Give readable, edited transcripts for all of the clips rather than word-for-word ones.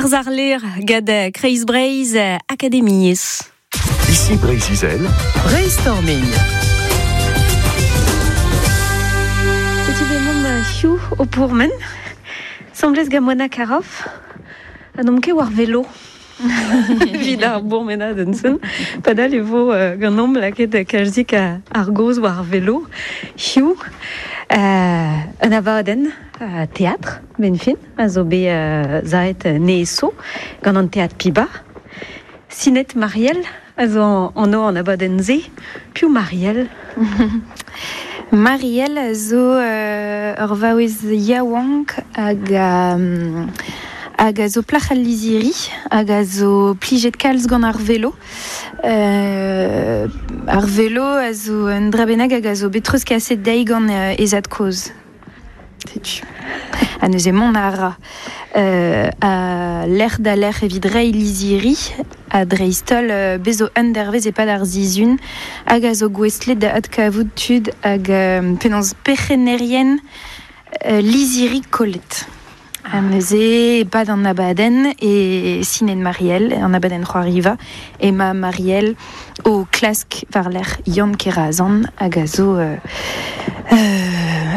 Ar zarler gad Kreiz Breizh Akademiezh. Ici Breizh-Izel. Brainstorming. Setu bet mont hiziv o pourmen. Semblez gant Mona Caroff. Ha n'omp ket war velo. Evit ar bourmenadenn-sen. Padal e vo ganeomp lakaet kalzik ar gaoz war velo. Hiziv, un abadenn teatr, 'benn fin, a zo bet savet neeso gant an Teatr Piba. Sinet Marielle a zo anv an abadenn-se. Piv Marielle? Marielle a zo ur vaouez yaouank hag hag a zo plac'h al lizhiri hag a zo plijet kalz gant ar velo. Ar velo a zo un dra bennak hag a zo bet treuzkaset dezhi gant he zad-kozh. Setu. Ha neuze mont a ra a lec'h da lec'h evit reiñ lizhiri ha dreist-holl bez zo un dervezh e-pad ar sizhun hag a zo gouestlet da adkavout tud hag penaos perc'hennerien lizhiri kollet. Ha neuze e-pad an abadenn e sinet Marielle, an abadenn c'hoariva, emañ Marielle o klask war-lerc'h Yann Kerazan hag a zo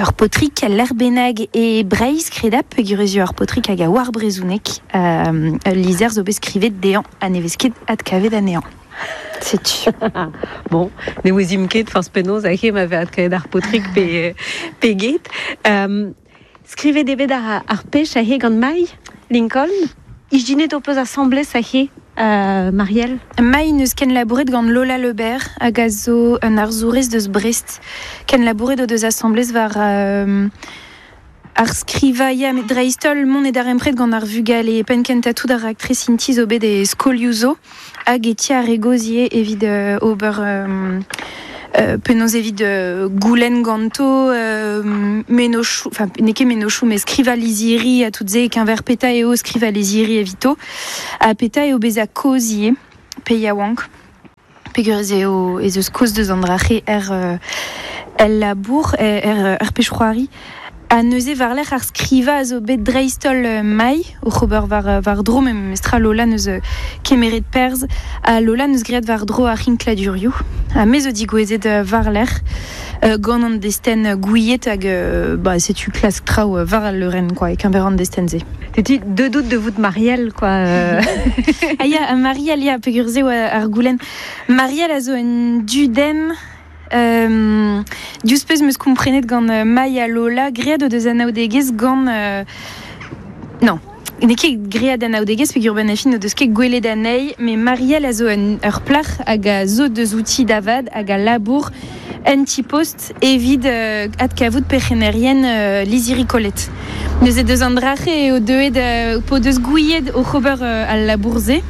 ur paotrig lec'h bennak e Breizh kredap peogwir ez eo ur paotrig hag a oar brezhoneg. Ul lizher zo bet skrivet dezhañ ha ne vez ket adkavet anezhañ. Setu. Bon, ne ouezimp ket forzh penaos hag ma vez adkavet ar paotrig pe, pe get. Skrivet eo bet ar pech aze gant Mai Lincoln. Ijinet ho peus asambles aze, Marielle? Mai n'eus kenlabouret gant Lola Lebert hag a zo un arzourez deus Brest. Kenlabouret o deus asambles war ar skrivañ, ya, met dreist-holl mont e darempred gant ar vugale. Penn-kentañ tout ar raktres int-i zo bet e skolioù zo. Hag e ti ar re gozh ivez evit ober penaos evit goulenn ganto mennozhioù, enfin n'eo ket mennozhioù met skrivañ lizhiri ha tout se e-keñver petra eo skrivañ lizhiri evito ha petra eo bezañ kozh ivez pe yaouank peogwir ez eo ez eus kaoz deus an dra-se er el labour er er pezh-c'hoari. Ha neuze war-lerc'h ar skrivañ a zo bet dreist-holl mailh oc'h ober war-dro memestra Lola 'neus kemeret perzh ha Lola 'neus graet war-dro ar c'hinkladurioù. Ha me zo digouezhet war-lerc'h gant an destenn gouiet hag bah setu klask traoù war al leurenn quoi e-keñver an destenn-se. Setu deuet out da vout Marielle quoi. Ah ya, Marielle ya peogwir se oa ar goulenn. Marielle a zo un dudenn Diouzh pezh 'm eus komprenet gant Maï ha Lola, graet o deus anaoudegezh gant... Non, n'eo ket graet anaoudegezh peogwir benn ar fin n'o deus ket gwelet anezhi, met Marielle a zo ur plac'h hag a zo deus outi da vat hag a labour en ti-post evit adkavout perc'hennerien lizhiri kollet. Neuze deus an dra-se eo deuet p'o deus gouiet oc'h ober al labour-se.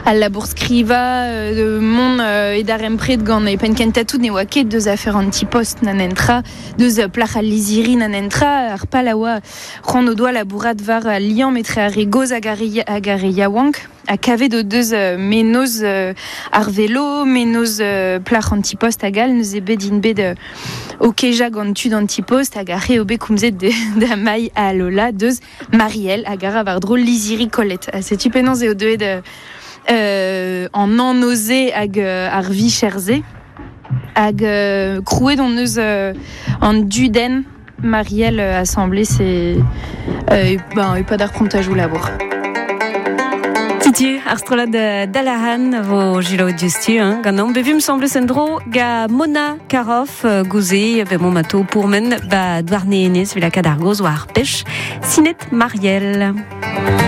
Al labour-skrivañ, mont e darempred gant e penn-kentañ tout ne oa ket deus afer an ti-post na nentra, deus plac'h al lizhiri na nentra. Ar pal a oa c'hoant o doa labourat war al liamm etre ar re gozh hag ar re yaouank ha kavet o deus mennozh ar velo, mennozh plac'h an ti-post hag all. Neuze bet int bet o kejañ gant tud an ti-post hag ar re eo bet komzet da Mai ha Lola deus Marielle hag a ra war-dro lizhiri kollet. Ha setu penaos eo deuet an anv-se hag ar vicher-se. Hag krouet hon eus an dudenn Marielle asambles e, ben, e-pad ar prantajoù labour. Setu ar strollad Dalahan a vo selaouet diouzhtu hein, ganeomp. Bevump semblez en-dro ga Mona Caroff gouze bemomp atao pourmen ba Douarnenez evit lakaat ar gaoz war ar pech. Sinet Marielle.